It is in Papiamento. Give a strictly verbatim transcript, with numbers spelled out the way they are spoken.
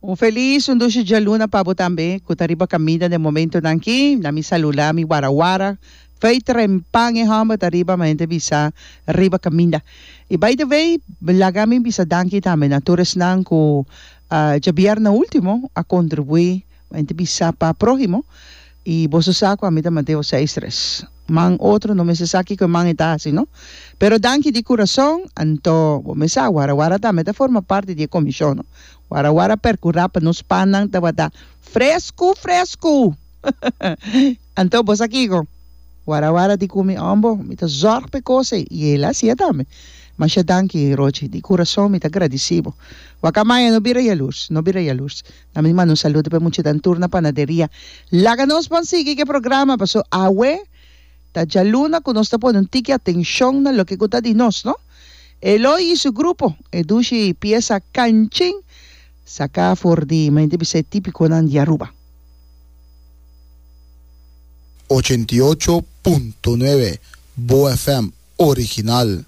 Un felis, un dushi djaluna pa bo tambe ku ta riba kaminda den momentonan aki. Na mi saludá mi warawara. Fei trempan e hòmber ta riba, ma hende bisa riba kaminda. I by the way, laga mi bisa danki tambe na tur esnan ku djabièrnè último a kontribuí, ma hende bisa pa próhimo. I boso sa ku ami ta Mateo seis tres. Man otro no mester sa kiko e man e ta hasi no. Pero danki di kurason. Anto bo mes sa Warawara tambe ta forma parti di e komishon no. Warawara perkurá pa nos pannan tabata fresku fresku. Anto bo sa kiko? Warawara di ku mi ombo mi ta zòrg pa e kos ei i el a hasié tambe. Masha danki Rochi, di kurason mi ta gradisí bo. Wakamaya no bira yalurs, no bira yalurs. Na mi manda un saludo pa e muchanan tur na panaderia. Laga nos ban sigui ku e programa paso awe ta djaluna ku nos ta pone un tiki atenshon na loke ku ta di nos, no? Eloy i su grupo, e dushi piesa Kanchin saka for di mente bisa e tipikonan di Aruba. Ochenta i ocho punto nuebe Bo F M original.